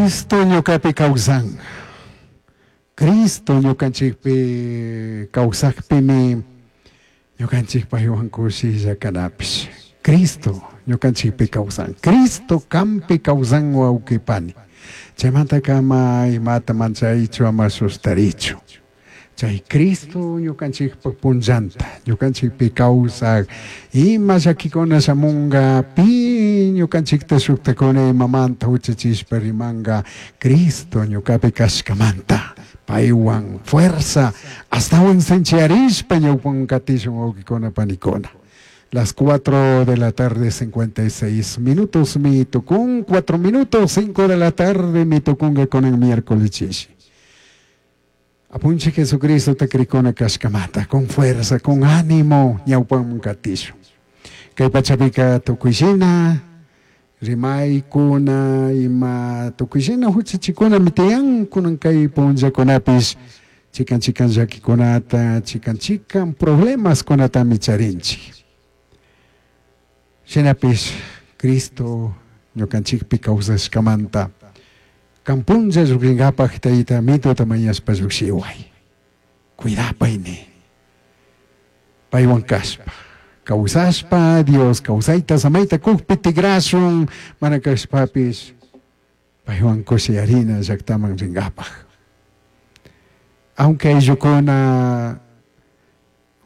Cristo ñukapi kawsan. Cristo ñukanchikpi kawsakpimi ñukanchik paywan kushilla kanapish. Cristo ñukanchikpi kawsan. Cristo kampi kawsan wawqipani. Chaymanta kama imata manchaychu ama sustarichu. Chay Cristo ñukanchikpa punllanta, ñukanchikpi kawsak, ima llakikuna shamunga, pi ñukanchikta shuktakuna imamanta huchachishpa rimanga, Cristo ñukapi kashkamanta, paywan fuerza, astawan sinchiyarishpa ñawpan katishun wawqikuna panikuna. Las 4 de la tarde, 56 minutos, mi tukun, 4 minutos, 5 de la tarde, mi tukunga con el miércoles chishi. Apunche Jesucristo te krikuna kashkamata, con fuerza, con ánimo, ñawpan katishu. Kay pachapika tukuyshina, rimaykuna, ima tukuyshina huchachikuna mitiyan, kunan kay punllakunapis, chikan chikan llakikunata, chikan chikan problemas kunatami charinchik. Shinapish Cristo ñukanchikpi kawsashkamanta, kampunlla lluqrinkapaq tayta mituta mañashpa lluqshiway. Cuidapayni. Paywan kashpa. Kawsashpa, Dios kawsayta samayta kukpi tigrashun, mana kashpapis, paywan kushiyarina llaqtaman rinkapaq. Aunque ayllukuna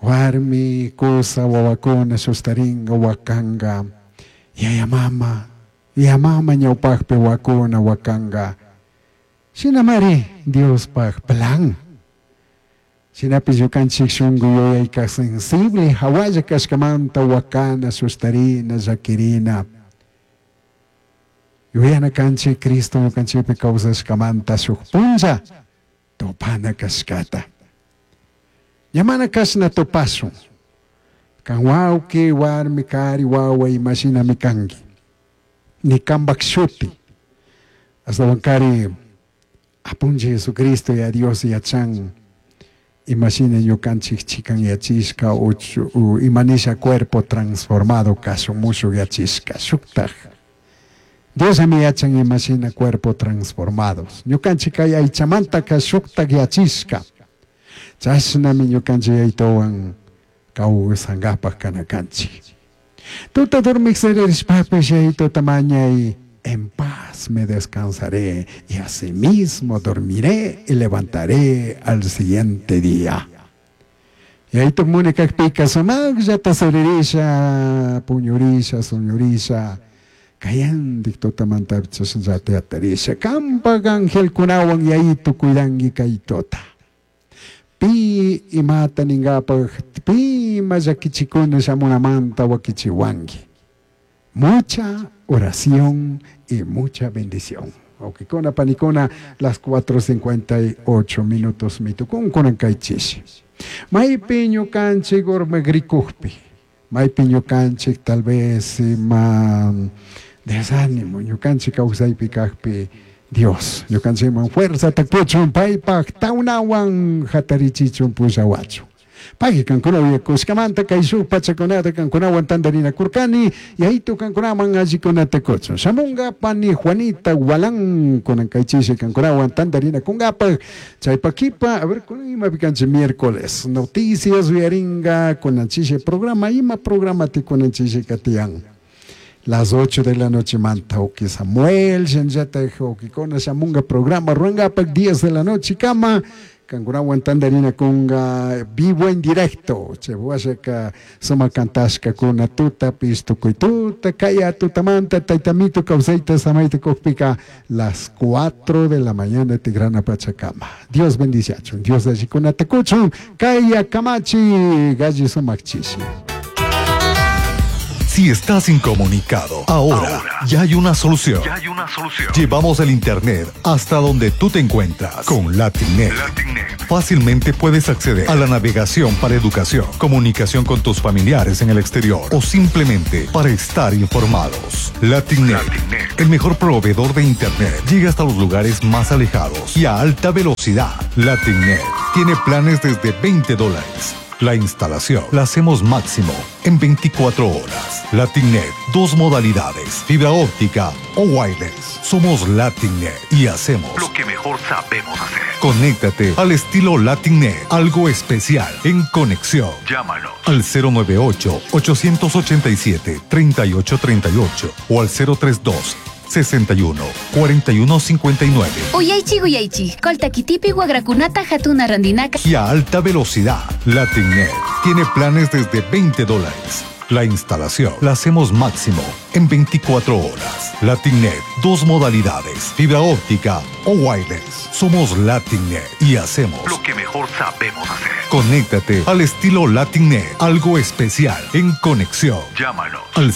warmi, kusa, wawakuna sustaringa, wakanga, yaya mama, yaya mama ñawpaqpi wakuna wakanga. Shinamari Diospaq plan. Shinapish ñukanchik shunku yuyayka sensible hawalla kashkamanta wakana, sustarina, llakirina. Yuyana kanchik Cristo ñukanchikpi kawsashkamanta shuk punlla tupana kashkata. Ñamana kashna tupashun. Kan wawqi, warmi, kari, wawa imashinami kanki. Ni kanpak shuti. Ashtawankari Apunchik Jesucristo ya Dios yachan imashina ñukanchik chikan yachishka o imanisha cuerpo transformado kashun mushuk yachishka shuktaj. Diosami yachan imashina cuerpo transformados. Ñukanchik kay aychamantaka shuktaj yachishka. Chashnami ñukanchik yaytowan kawsankapak kanakanchik. Tuta dormik siririshpapish yaytota mañay, en paz me descansaré y asimismo dormiré y levantaré al siguiente día. Yayto muni kakpika sumaqllata siririsha, puñurisha, suñurisha, kayandik tutamanta chashnallata yatarisha, kampak angelkunawan yayito cuidanki kay tuta. Pi imata ninkapak, pi ima llakichikuna shamunamanta wakichiwanki. Mucha oración y mucha bendición. Wawqikuna, panikuna, las 4:58 minutos mitukun kunan kay chishi. Maypi ñukanchik urmagrikukpi, maypi ñukanchik tal vez ima desánimo, ñukanchik kawsaypi kakpi, Dios, ñukanchikman fuerzata kuchun, paypak tawnawan hatarichichun pushawachun. Pagui kankuna uyakushkamanta kay shuk pachakunata kankunawan tantarinakurkani, yaytu kankunaman allikunata kuchun. Shamunga pani Juanita Gualán kunan kay chishi kankunawan tantarinakunkapaq. Chaypa kipa, a ver, kunan imapi kanchik miércoles, noticias uyaringa kunan chishi programa, ima programa ti kunan chishi katiyan. Las 8 de la noche manta uki Samuel, shinllata ukikuna shamunga programa ruangapak 10 de la noche kama. Kankunawan tantarinakunga vivo en directo. Che washaka suma kantashka kuna tuta pistukuy tuta kaya tutamanta taytamito kawsayta samayta kukpika las 4 de la mañana tigrana pachakama. Dios bendiciachun, Dios allikunata kuchun, kaya kamachi galli sumakchishi. Si estás incomunicado, ahora ya hay una solución. Ya hay una solución. Llevamos el internet hasta donde tú te encuentras con Latinet. Latinet. Fácilmente puedes acceder a la navegación para educación, comunicación con tus familiares en el exterior o simplemente para estar informados. Latinet, Latinet. el mejor proveedor de internet, llega hasta los lugares más alejados y a alta velocidad. Latinet tiene planes desde veinte dólares. La instalación la hacemos máximo en 24 horas. Latinnet, dos modalidades, fibra óptica o wireless. Somos Latinnet y hacemos lo que mejor sabemos hacer. Conéctate al estilo Latinnet, algo especial en conexión. Llámanos al 098 887 3838 o al 032 61 41 59. Uyaychik uyaychik, Coltaquitipi wagrakunata hatuna randinaka. Y a alta velocidad, Latinnet tiene planes desde 20 dólares. La instalación la hacemos máximo en 24 horas. Latinnet, dos modalidades, fibra óptica o wireless. Somos Latinnet y hacemos lo que mejor sabemos hacer. Conéctate al estilo Latinnet, algo especial en conexión. Llámanos al.